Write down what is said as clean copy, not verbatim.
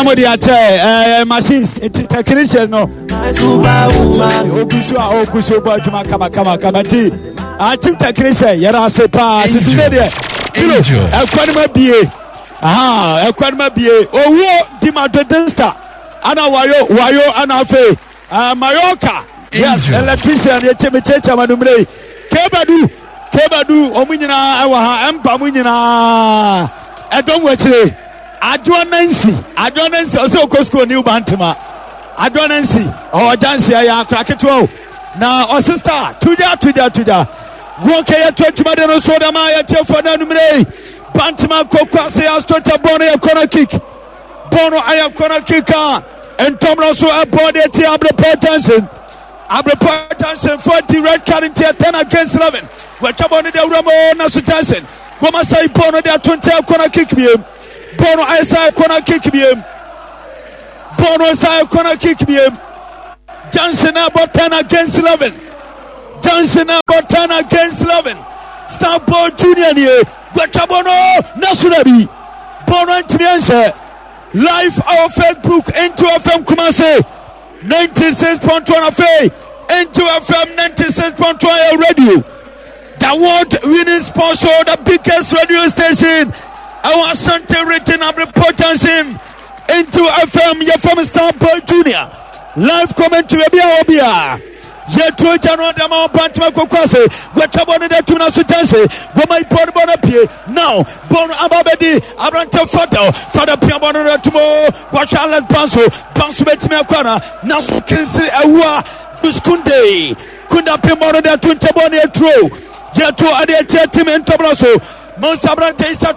Na mo de akyɛ ɛɛ machines nti technicians no. Ogu so a ogu so bɔ adwuma kama kama kama nti chief technician yɛrɛ ase paa sisi ne deɛ kilo ɛkwan mu abie aha ɛkwan mu abie owuo di ma dodesta ana wayo wayo ana afei. Uh, Mallorca. Yes, electrician yɛ kyɛ mekyerɛkyerɛ ma numere yi. Kebadu, Kebadu, wɔn nyinaa ɛwɔ ha, ɛmpa mu nyinaa. Ɛdɔm wɔ akyire. Adwoa Nancy, Adwoa Nancy, ɔsɛ ɔkɔ sukuu New Bantama. Adwoa Nancy, ɔwɔ gyansi ɛyɛ akora ketewa o. Na ɔsista, tugya, tugya, tugya. Wɔn kɛ yɛ to adwuma de no so dama yɛ tiɛfoɔ na numere yi. Bantama koko ase asotɔ bɔɔl no yɛ corner kick. Bɔɔl no ayɛ corner kick a ntɔm no so ɛbɔ de ti Abrepɔ Junction. Abrepɔ Junction fo di red card nti 10 against 11. Wɔatwa bɔɔl no de awura mu na so Junction. Wɔn asɛe bɔɔl no de ato nkyɛn corner kick biem. Bɔɔl no ayɛ sɛ corner kick biem. Bɔɔl no sɛ corner kick biem. Junction abɔ 10 against 11. Junction abɔ 10 against 11. Starboy Junior nie. Wɔatwa bɔɔl no na so na bi. Bɔɔl no antumi anhyɛ. Live our Facebook Angel FM Kumasi 96.1 afei Angel FM 96.1 yɛ radio. The world winning sports show, the biggest radio station. Ɛwɔ Ashanti region Abrepɔ Junction. Angel FM yɛ fam Star Boy Junior. Live commentary baabi a wɔ biara. Yɛtuo gya no adama ɔbantama koko ase. Wɔatwa bɔ no de atum no so gyanse. Wɔma bɔ no bɔ no pie. Now bɔ no aba bɛdi aberante Fadel. Fadel pia bɔ no de atum o. Wɔahwɛ Alex Banso. Banso bɛtumi akɔ ana. Naso Kinsiri Awua. Kunde. Kunda pem bɔ no de ato nkyɛ bɔ no aturo. Yɛtuo ade atia tim ntɔbra so. Mansa aberante Isa.